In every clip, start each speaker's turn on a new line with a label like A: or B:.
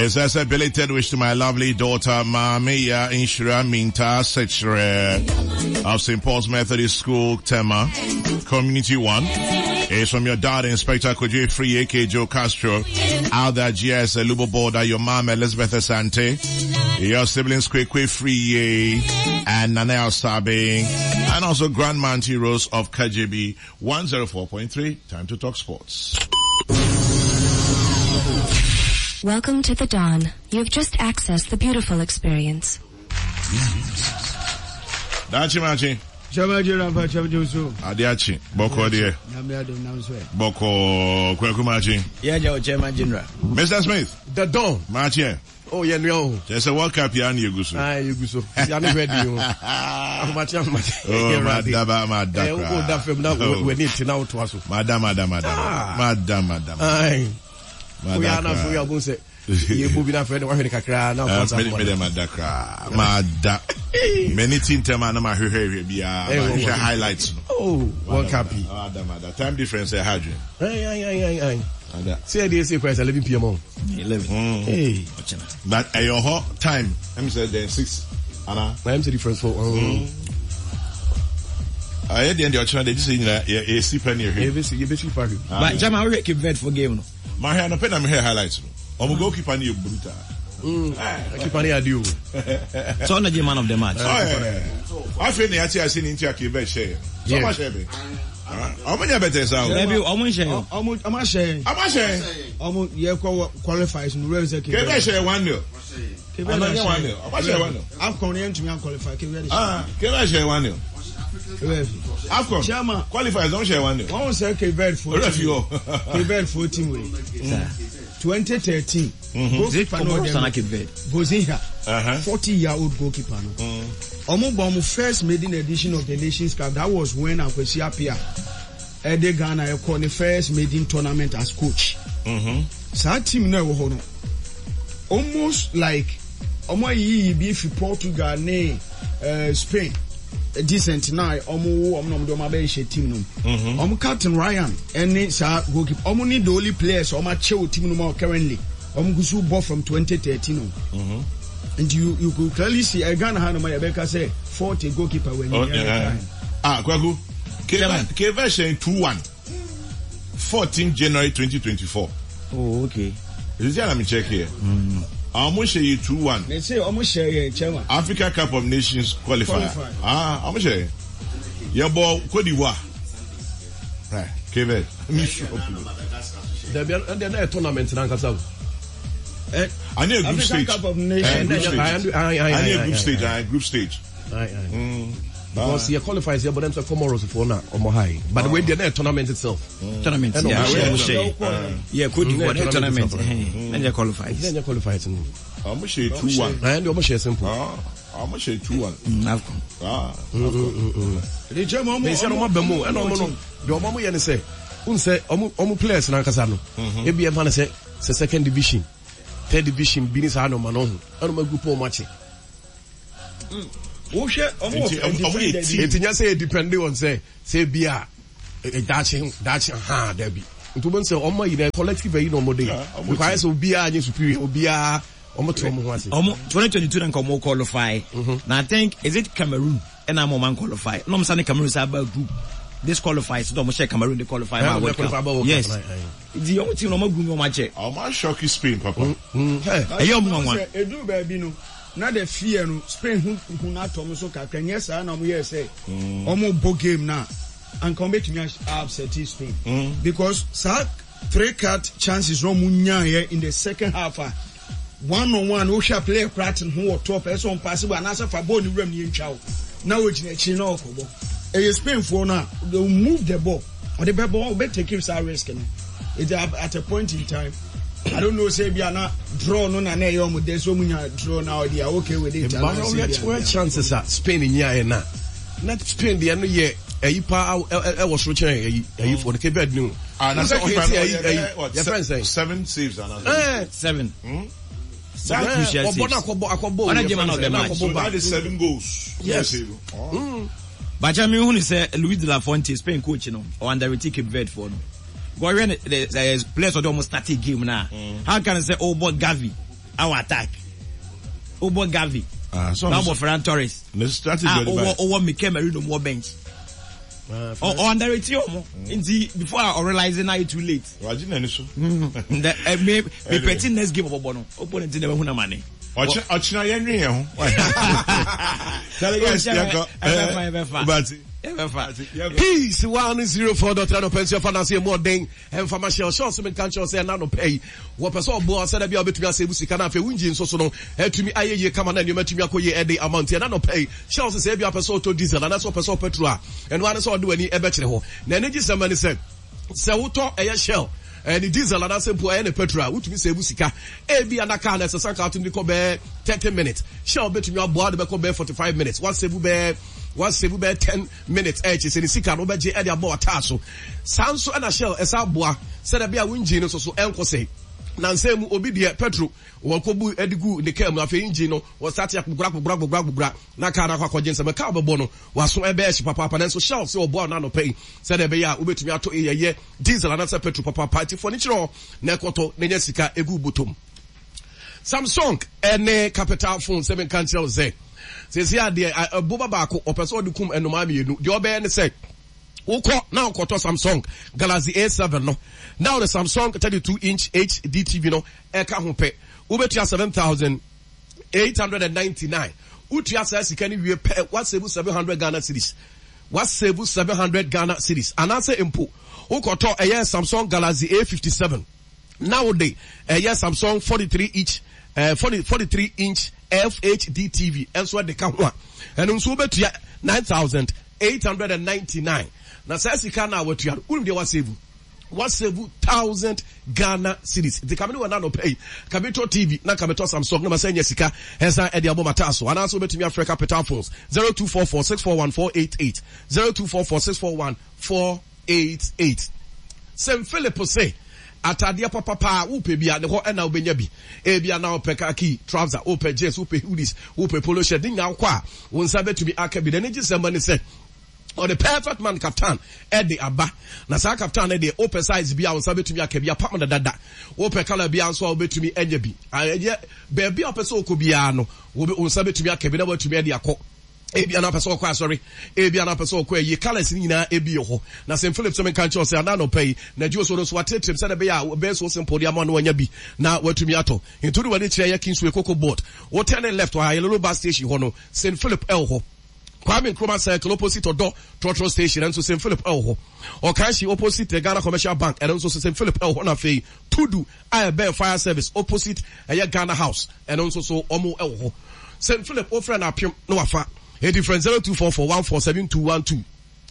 A: It says a belated wish to my lovely daughter, Mamiya Inshira Minta Sechere of St. Paul's Methodist School, Tema, Community 1. It's from your dad, Inspector Kojo Free, aka Joe Castro, out there, GS, Lubo Border, your mom, Elizabeth Asante, your siblings, Kwekwe Free, and Nana Asabe, and also Grandma Auntie Rose of KJB 104.3. Time to talk sports.
B: Welcome to the dawn. You have just accessed the beautiful experience.
A: Dachi Machi.
C: Chama Jira fa chama Josu.
A: Adiachi. Boko deɛ.
C: Nyame adom nam so.
A: Boko Kweku Machi.
D: Yeah, Joe Chairman General.
A: Mr. Smith.
E: The Don.
A: Machi.
E: Oh, yeah, no.
A: Kyerɛ sɛ World Cup yi ara na yɛgu so.
E: Ah, yɛgu so. Ya ne hwɛ di o. Ahomakye ahomakye.
A: Oh, mada ba mada
E: eh, koraa. Wo da fam na oh. w'ani te na wotoa so.
A: Mada mada mada. Ah. Mada mada.
E: Ai. Mada. Woyɛ na afei woyɛ sɛ yɛbɔ bi na afei de wahwɛ ne kakra na ɔfa sa.
A: Me de mada koraa. Mada. M'ani ti ntɛm a na mahwehwɛ hwɛ biara. Eh, mahwehwɛ highlights no.
E: Oh, World Cup yi.
A: Mada mada. Time difference ɛha adwene.
E: Ai ai ai ai. Ada. Sɛ yɛde ɛsɛ kora sɛ 11 pm o.
D: 11.
A: Mm.
E: Hey.
A: But ɛyɛ hɔ time ɛm sɛ then 6 ana.
E: Na ɛm sɛ difference for.
A: Ɛyɛ deɛ deɛ ɔkyerɛ deɛ gye sɛ nyina yɛsi pɛ ne yɛhwɛ.
E: Yɛbɛsi yɛbɛsi pa hwɛ.
D: But jama wohwɛ Cape Verde for game no.
A: Mahwɛ anɔpɛ na mehwɛ highlights no. Ɔmo goalkeeper no yɛ brutal.
E: Keeper no yɛ ade o.
D: So ɔno gye man of the match.
A: Afei na yɛate ase ne nti a Cape Verde hyɛ yɛ. So ɔmo ahyɛ bɛ. Ɔmo nyɛ bɛtɛ saa o.
D: Dabi ɔmo nhyɛ yɛ.
C: Ɔmo ɔmo ahyɛ yɛn.
A: Ɔmo ahyɛ yɛn.
C: Ɔmo yɛ kɔ qualifies no wura sɛ
A: Cape Verde hyɛ 1-0.
C: Cape Verde
A: ahyɛ 1-0. Ɔmo ahyɛ 1-0.
C: AFCON yɛn ntumi an qualify Cape Verde hyɛ.
A: Ah Cape Verde hyɛ 1-0. AFCON
C: Chairman
A: qualifies ɔmo hyɛ 1-0.
C: Wɔn sɛ Cape Verde fo
A: team.
C: Cape Verde fo team wei. 2013 goalkeeper no ɔdɛ Vozinha 40 year old goalkeeper no. Ɔmo bɔ ɔmo first maiden edition of the Nations Cup that was when Akwasi Appiah ɛde Ghana ɛkɔ ne first maiden tournament as coach. Saa team no ɛwɔ hɔ no almost like ɔmo ayiyi bi fi Portugal ne uh, Spain decent na ɔmo wo ɔmo na ɔmo de ɔmo abɛhyɛ team no mu. Ɔmo captain Ryan ɛne saa goalkeeper ɔmo ne the only players ɔmo akyɛ wɔ team no mu currently ɔmo gu so bɔ from 2013 o. Nti you you could clearly see ɛ Ghana ha nom a yɛbɛka sɛ forty goalkeeper wɔ
A: anim yɛn. Ah Kwaku Cape Verde hyɛn 2-1 14 January 2024.
D: Oh okay.
A: Sisi a na me check here. Ɔmo hyɛ yɛ 2-1.
C: Ne se ɔmo hyɛ yɛ chairman.
A: Africa Cup of Nations qualifier. Ah ɔmo hyɛ yɛ bɔ Cote d'Ivoire. Right Cape Verde. Mi sure.
E: Dabi ɛnde na yɛ tournament nankasa o.
A: Ane a group stage.
C: Cup of Nations.
A: Group stage. Ane a group stage. Aye, group stage.
E: Because yɛ qualify sɛ yɛbɔ dem sɛ Comoros foɔ na ɔmo ha yi. But wei deɛ na yɛ tournament itself.
D: Tournament yeah. Ɔmo hyɛ. Yeah, Cote d'Ivoire na tournament. Na yɛ qualify.
E: Na yɛ qualify no.
A: Ɔmo hyɛ 2-1.
E: Ɛn de ɔmo hyɛ simple.
A: Ɔmo hyɛ 2-1.
D: AFCON.
A: Ah.
E: Mɛ sɛ ɔmo abɛ mu ɛna ɔmo no deɛ ɔmo yɛ ne sɛ n sɛ ɔmo ɔmo players nankasa no ebi ɛfa ne sɛ sɛ second division third division bi ne saa nneɛma no ho ɛna ɔmo agroup ɔmo akye.
C: Wohwɛ ɔmo wɔ
E: defender. Eti nya sɛ yɛ depend on sɛ sɛ ebi a daakye daakye ha dabi nti wɔn sɛ ɔmo ayi na collective ayi na ɔmo de because ayɛ sɛ obiara nye superior obiara ɔmo te ɔmo ho ase.
D: Ɔmo 2022 na nka ɔmo qualify na I think is it Cameroon ɛna ama ɔmo qualify na ɔmo sa ne Cameroon sa aba group disqualify so ɔmo hyɛ Cameroon de qualify ma World Cup yes nti ɔmo team na ɔmo agu mu ɔmo akyɛ.
A: Ɔmo asɔki Spain papa.
D: Ɛyɛ ɔmo nwanwa.
C: Edu baabi no na the fear no Spain ho hu no atɔ ɔmo so kakra nyɛ saa na ɔmo yɛ sɛ ɔmo bɔ game na anka ɔmo betumi upset Spain because saa three card chances na ɔmo nyaayɛ in the second half a one on one wohwɛ a player koraa te ne ho wɔ top ɛsɛ ɔn paase bɔ anaasɛ fa bɔɔl ne wuram ne yɛntwa wo na ogyina akyiri na ɔkɔbɔ ɛyɛ Spain foɔ no a they will move the ball ɔde bɛbɔ ɔbɛ take saa risk no it at a point in time I don't know sɛ bi ana draw no na na ɛyɛ ɔmo dɛ sɛ ɔmo nya draw na ɔde a okay with it
E: anaasɛ bi a chances a Spain nyaeɛ na na Spain deɛ no yɛ ɛyi paa ɛwɔ soro kyɛn ɛyi ɛyi fo no Cape Verde no.
A: Ah, na sɛ keeper no ɔyɛ
E: bɛyɛ yɛfrɛ nsɛn.
A: Seven saves ana.
D: Seven. Saa crucial saves.
E: Ɔbɔ na akɔbɔ akɔbɔ.
D: Ɔna gye man of the match.
A: So that is seven goals.
E: Yes.
D: Bakyɛ mi hu ni sɛ Luis de la Fuente Spain coach no ɔ underrate Cape Verde foɔ no. Gɔhwɛ ne the players ɔde ɔmo start game na. How can sɛ ɔbɔ Gavi? Our attack. Wobɔ Gavi. Ah, so na wobɔ Ferran Torres. Ah, wowɔ wowɔ Mikel Merino mu wɔ bench. Ɔ underrate ɔmo. Nti before I realize na ayɛ too late.
A: Wagye n'ani so.
D: Ndɛ eh, me me pɛti next game ɔbɔbɔ no. Ɔbɔ ne ti na ɛbɛhu na ma ne.
A: Ɔkyena yɛn nwi yɛn ho.
D: Ɛbɛfa ɛbɛfa. Ɛbɛfa.
E: Peace 104.3 no pɛnsi ɔfa n'ase emu ɔden ɛnfa ma hyɛ ɔhyɛ ɔsɛ menka nkyɛw sɛ ɛna no pɛ yi wɔpɛ sɛ ɔboa sɛ dɛbi a wobɛtumi asɛ ebu sika na afei wongye nso so no atumi ayɛ yie kama na nneɛma atumi akɔ yie ɛde ama nti ɛna no pɛ yi hyɛ ɔsɛ sɛ ebi apɛ sɛ ɔtɔ diesel anaasɛ ɔpɛ sɛ ɔpɛtro a ɛno ara ne sɛ ɔde w'ani ɛbɛkyerɛ hɔ na ɛne gye sɛm ne sɛ Sɛ wotɔ ɛyɛ Shell ne diesel anaasɛ mpo ɛyɛ ne petrol a, wotumi save sika. Ebia na car no ɛsɛ sɛ anka wotumi de kɔ bɛyɛ 30 minutes. Shell betumi aboa wode bɛkɔ bɛyɛ 45 minutes. Woasave bɛyɛ woasave bɛyɛ 10 minutes ɛkyɛ sɛ ne sika no wobɛgye ɛde abɔ w'ataa so. Saa nso ɛna Shell ɛsan aboa sɛdeɛ ɛbɛyɛ a wo engine no nso so ɛnkɔ sɛe. Nansa mu obi deɛ petrol wɔkɔbu de gu ne car mu afei engine no wɔsate akpogora akpogora akpogora akpogora na car no akɔ akɔgye nsɛm. Car bɛbɔ no W'aso ɛbɛyɛ hye papaapa nanso Shell sɛ ɔboa wo no anɔpa yi sɛdeɛ ɛbɛyɛ a wobɛtumi atɔ ɛyɛ diesel anaasɛ petrol papaapa nti fo ani kyerɛ hɔ na ɛkɔtɔ na nya sika ɛgu wo bɔtɔ mu. Samsung ɛne Capital phone sɛ menka nkyerɛ wo sɛ seesei adeɛ ɛboba baako ɔpɛ sɛ ɔde kum nnomaa mmienu deɛ ɔbɛyɛ ne sɛ wokɔ na wokɔtɔ Samsung Galaxy A7 no na wode Samsung 32 inch HD TV no ɛka ho pɛ wobɛtua 7000 899 Wotua saa sika no wie pɛ, woasevu 700 Ghana cedis. Woasevu 700 Ghana cedis. Anaasɛ mpo, wokɔtɔ ɛyɛ Samsung Galaxy A57 na wode ɛyɛ Samsung 43 inch, eh, 40, 43 inch FHD TV nso de ka ho a, ɛno nso wobɛtua 9,899. Na saa sika no a watua no, wonim deɛ woasevu? Wasevu thousand Ghana cedis. Nti ka me ne wɔ na anɔpa yi, ka me tɔ TV na ka me tɔ Samsung na ma sɛ nya sika ɛsan ɛde abɔ mataa so. Anaasɛ wobɛtumi afrɛ Capital Phones 0244 641 488 0244 641 488. St. Philip se atadeɛ papa paa wopɛ bi a ne hɔ ɛna wobɛnya bi. Ebia na wopɛ khaki trouser, wopɛ jeans, wopɛ hoodies, wopɛ polo shirt, ne nyinaa wokɔ a wo nsa bɛtumi aka bi. N'ani gye sɛm ne sɛ Ɔde perfect man kaftan de aba. Na saa kaftan no deɛ, wopɛ size bi a wo nsa bɛtumi aka bi, apam no dada. Wopɛ colour biara nso a wobɛtumi anya bi. Ɛyɛ baabi a wopɛ sɛ wokɔ biara no, wo nsa bɛtumi aka bi na woatumi de akɔ. Ebia na wopɛ sɛ wokɔ asɔre, ebia na wopɛ sɛ wokɔ ayie, colours no nyinaa ebi wɔ hɔ. Na St. Philip sɛ menka nkyerɛ wo sɛ ana anɔpa yi, na Jews no nso wɔateateam sɛdeɛ ɛbɛyɛ a ɛbɛyɛ so simple de ama no wanya bi na watumi atɔ. Nti wode w'ani kyerɛ yɛ Kingsway Cocoa Board, wo turn left wɔ Ayalolo bus station hɔ no, St. Philip ɛwɔ hɔ. Kwame Nkrumah Circle opposite Ɔdɔ Trɔtrɔ Station ɛno nso St Philip ɛwɔ hɔ. Ɔkanhyi opposite the Ghana Commercial Bank ɛno nso St Philip ɛwɔ hɔ na afei Tudu a ɛbɛn Fire Service opposite ɛyɛ Ghana House ɛno nso so wɔn ɛwɔ hɔ. St Philip wofrɛ no apem na wafa. Eti frɛ 0244 147212.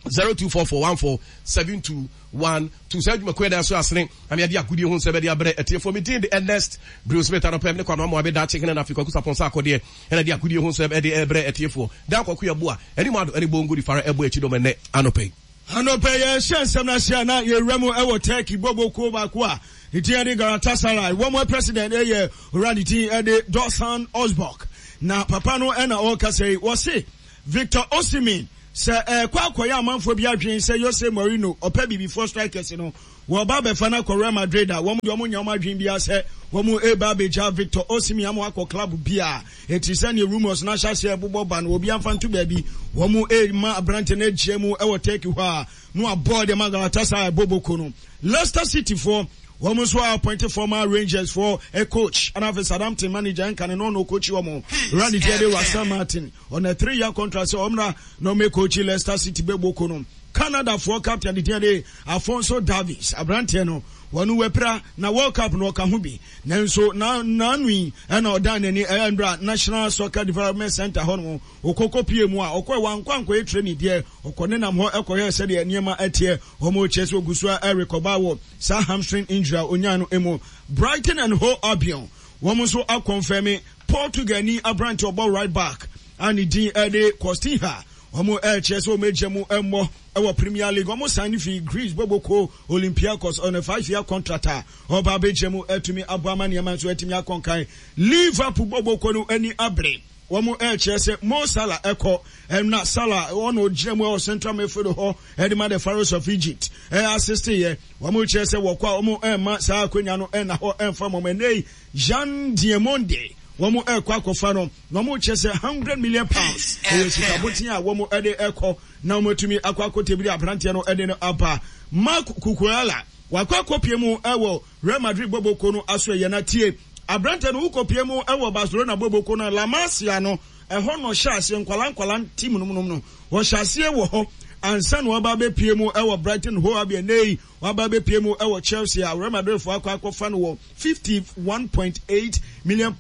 E: 0244147212 Saa adwumakuo yɛ dan so asene na meade agodie ho nsɛm de abrɛ atiefoɔ. Me din de Ernest Bruce Smith. Anɔpa yi me ne Kwame Amoah Daakye Hene na afei Kwaku Sapon Sarkodie na de agodie ho nsɛm de rebrɛ atiefoɔ. Dan Kwaku Yeboah, Anim Addo ne Bongo Di Fara ɛbɔ akyi dɔm ɛnnɛ anɔpa yi.
C: Anɔpa yi yɛrehyɛ nsɛm no ase a na yɛwura mu wɔ Turkey bɔbɔ kuo baako a ne din de Galatasaray. Wɔn president yɛ owura ne din de Dorsan Ozbok. Na papa no na ɔrekasa yi, wɔse Victor Osimhen Sɛ ɛrekɔ akɔyɛ amanfoɔ bi adwene sɛ Jose Mourinho ɔpɛ bibifoɔ strikers no, wɔreba abɛfa no akɔ Real Madrid a, wɔn deɛ wɔnnya wɔn adwene biara sɛ wɔreba abɛgya Victor Osimhen ama wakɔ club biara. Enti sɛdeɛ rumours no ahyɛ aseɛ rebobɔ ba no, obiara mfa nto baabi. Wɔrema aberanteɛ no agyina mu wɔ Turkey hɔ a, na wabɔ de ama Galatasaray boboko no. Leicester City foɔ, wɔn nso a appoint former Rangers foɔ coach, ɛna afei Southampton manager nka ne no na ɔcoachi wɔn, Randy Tiade Russell Martin. On a 3-year contract sɛ ɔmmra na ɔmmɛkookyi Leicester City bɛbɔ no. Canadafoɔ captain de din de Alphonso Davies, aberanteɛ no, wɔn wapira na World Cup no ɔka ho bi. Nanso na n'ano yi ɛna ɔdan n'ani ɛndra National Soccer Development Center hɔ no ɔkɔkɔ pie mu a ɔkɔɛ wankɔ ankɔyɛ training deɛ ɔkɔ nenam hɔ ɛkɔhwɛ sɛdeɛ nneɛma ɛteɛ. Wɔn kyerɛ sɛ ogu so a ɛrekɔba wɔ saa hamstring injury a onyaa no mu. Brighton and Hove Albion wɔn nso akɔnfɛmi Portugalni aberante a ɔbɔ right back a ne din de Costinha. Wɔrekyerɛ sɛ wɔagya mu mmɔ wɔ Premier League. Wɔsan no fii Greece bɔbɔkuo Olympiacos on a 5-year contract a ɔreba abɛgya mu atumi aboa ama nneɛma nso atumi akɔ nkan. Liverpool bɔbɔkuo no ani abere. Wɔn ɛrekyerɛ sɛ Mo Salah ɛkɔ ɛna Salah ɔna ɔgyina mu ɛwɔ central midfield hɔ ɛde ma the Pharaohs of Egypt ɛyɛ assist yɛ. Wɔn rekyerɛ sɛ wɔkɔ a wɔn ɛmma saa akonya no ɛnna hɔ ɛmfa mɔm. Ɛnɛ yi Yan Diomande wɔn ɛrekɔ akɔfa no na wɔn rekyerɛ sɛ £100 million ɛyɛ sika boten a wɔn ɛde ɛkɔ na wɔn atumi akɔ akɔtɛbiri aberanteɛ no ɛde no aba. Marc Cucurella wakɔ akɔpie mu ɛwɔ Real Madrid bɔbɔkuo no aso ɛyɛ na tie aberanteɛ no wokɔpie mu ɛwɔ Barcelona bɔbɔkuo no La Masia no ɛhɔ na ɔhyɛ aseɛ nkwala nkwala team no mu no ɔhyɛ aseɛ wɔ hɔ ansa na waba abɛpie mu ɛwɔ Brighton Hove Albion. Ɛnɛ yi waba abɛpie mu ɛwɔ Chelsea a Real Madrid foɔ akɔ akɔfa no wɔ £51.8 million.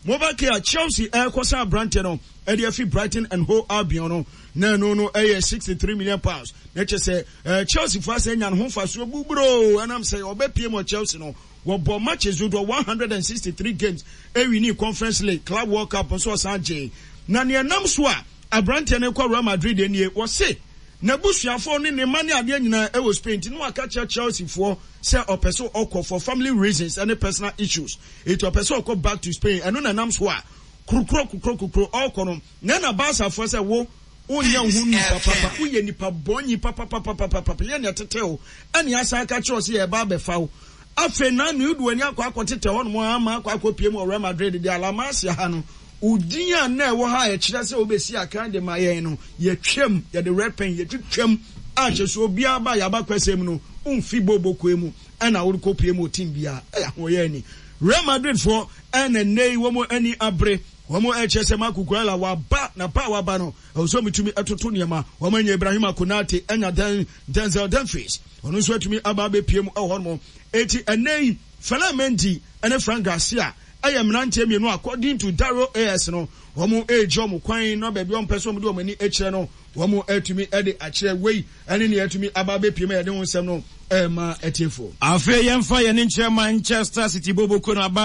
C: Mobile a Chelsea ɛrekɔsa aberanteɛ no ɛde afi Brighton and Hove Albion no na ɛno no ɛyɛ £63 million na kyɛ sɛ Chelsea foɔ asɛ nya ne ho mfasoɔ buburoo ɛnam sɛ ɔbɛpie mu wɔ Chelsea no wɔbɔ matches dodoɔ 163 games ɛwini Conference League, Club World Cup nso ɔsan gyee. Na nea ɛnam so a aberanteɛ no kɔ Real Madrid nie, wɔse n'abusuafoɔ ne ne mma ne adeɛ nyinaa ɛwɔ Spain nti na waka kyerɛ Chelsea foɔ sɛ ɔpɛ sɛ ɔkɔ for family reasons ɛne personal issues, eti ɔpɛ sɛ ɔkɔ back to Spain. Ɛno na ɛnam so a kurukuro kurukuro kurukuro ɔrekɔ no na ɛna Barca foɔ sɛ wo wonyɛ wo ho nipa papa, woyɛ nipa bɔnyi papapapapapa, yɛ nea ɛtete wo ɛne asan aka kyerɛ wo sɛ yɛba abɛfa wo. Afei na ne wode w'ani akɔ akɔtetɛ hɔnom ama akɔ akɔpie mu wɔ Real Madrid deɛ La Masia ha no, wo din a na ɛwɔ ha a ɛkyerɛ sɛ wobɛsi akan de ma yɛn no, yɛtwam, yɛde red pen yɛtwitwam a kyerɛ sɛ obiara ba yɛaba kwasɛm no, womfi bɔɔbɔkuo mu ɛna worekɔpie mu wɔ team biara. Ɛyɛ ahoɔyɛ ani. Real Madrid foɔ ɛna nnɛ yi wɔn ani abere. Wɔn ɛkyerɛ sɛ Marc Cucurella waba na ba a waba no ɛwɔ sɛ wɔtumi ɛtoto nneɛma. Wɔn anya Ibrahima Konate, ɛnya Den Denzel Dumfries, ɔno nso atumi aba abɛpie mu ɛwɔ hɔnom. Eti ɛnnɛ yi Ferland Mendy ɛne Fran Garcia ɛyɛ mmeranteɛ mmienu according to Dario AS no wɔn ɛregye wɔn kwan na baabi a wɔn pɛ sɛ wɔn de wɔn ani kyerɛ no wɔn atumi ɛde akyerɛ. Wei ɛne nea atumi aba abɛpie mu a yɛde ho nsɛm no ɛrema atiefoɔ.
D: Afei yɛmfa yɛn ani nkyerɛ Manchester City boboko no aba.